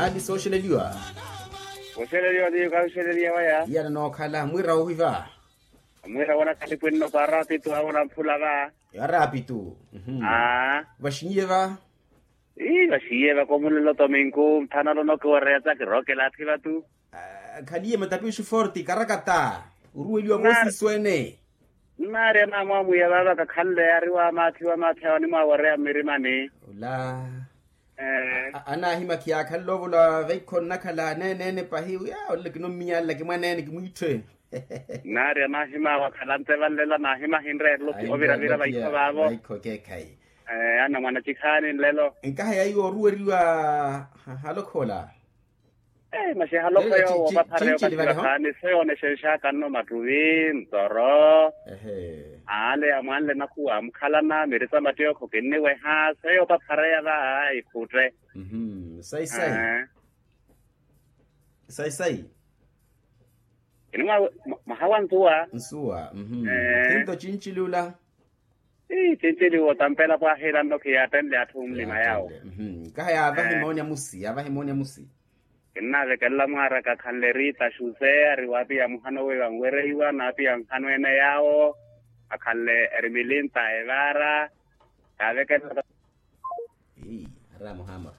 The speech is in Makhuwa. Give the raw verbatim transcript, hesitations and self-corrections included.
Aali sooxeleliwa. Oxeleliwa ni okaxeleliwa waya. Iyana nookhala mwira wohiva. Mwira wona khalipu enno paarapitu awona mphula va. Arapitu. Aa. Vaxinyiye va. Ii vaxiye vakomulelo tominku nthanolo nokiwareya tsa kirookela athi vatu. Khaliye matapiixu forti karakata. Oruweliwa voosiso ene. Nnaari anaamwamwiya vaava kakhanle yaari wamaathi wamaathi awo animwawareya mmirimani. Ola. Anaahimakhiya akhanle ovola vaikho nnakhala aneene ene pahi wiya olelo kinommiyala kimwaneene kimwiitthe. Nnaari anaahimawa akhala nteva nlela naahimahinre erulupi oviravira vaikho vaavo. Vaikho keekhayi. Anna mwanacikhaani nlelo. Nkaha yaiwo oruweriwa. Halokhola. Masi halokho yoowo opaphareya opattiwa khaani seyo onexenxakanno mattuvi ntoro. Ale amwanle nakhuwa amukhalana miri sa mattiyo khukinniweha seyo opaphareya va. Ikhutte. Sayi-sayi. Sayi-sayi. Kini mwaha wa nsuwa. Nsuwa. Thinto cinciliwula. Ii cinciliwo tampela pwahilanno khiyattenle atthu mmulima yawo. Kaha yaavahi moonya musi yaavahi moonya musi. Kinnaavekelela mwaaraka khanle rita xuseya ari waapiya muhano weiwa nwereiwa naapiya nhano ene yawo. Akhanle erimilinta evaara. Yaavekelela. Ii. Ari amuhaamura.